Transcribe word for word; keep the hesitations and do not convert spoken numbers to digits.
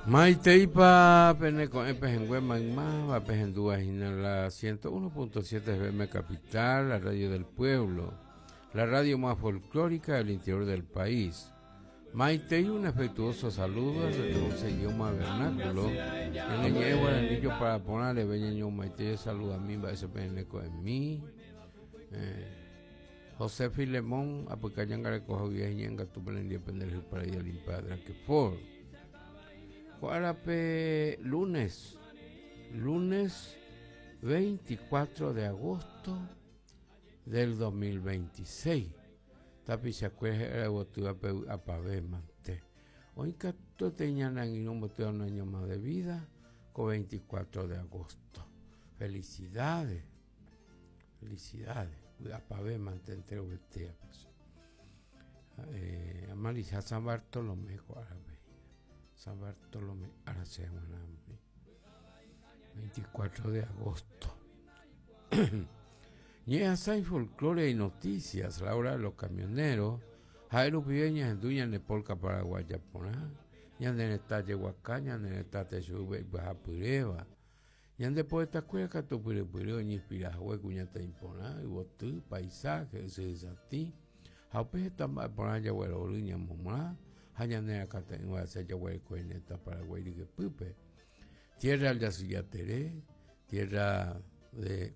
Maiteipa peneko'ẽ pehẽngue maymáva pehendúva hína la ciento uno punto siete F M Capital, la radio del pueblo, la radio más folclórica del interior del país. Maitei, un afectuoso saludo a su idioma vernáculo. En el llevo el anillo para ponerle beñeño Maitei saluda a mí, va ese peneco en mí. Eh, José Filemón, apucayangareco Javier Ñenga, tu prendió pendejo para ir a limpiar que por. Árape, lunes, lunes veinticuatro de agosto del dos mil veintiséis. Tapichakue apavé mante. Hoy cato teñan en un boteo un año más de vida, con veinticuatro de agosto. Felicidades, felicidades. Apavé mante entero vetea. Eh, Amarisa San Bartolomé, árape. San Bartolomé, ahora se veinticuatro de agosto. Ñeasai folclore y noticias, la hora de los camioneros, Jairo Pibeña, Enduña, Nepolca, Paraguaya, Poná, Ñandeneta, Yehuacá, Ñandeneta, Techube, Bajapureba, Ñande poeta cueca, Tupurepureo, Ñispirajue, Cuñata Imponá, Ibotú, paisaje, Sesatí, Jaupe, Tamba, Poná, Yaguero, Uruña, Momá, Jañanera, Catenua, Seyahuel, Cueneta, Paraguay, Pupe, tierra al Yacillateré, tierra de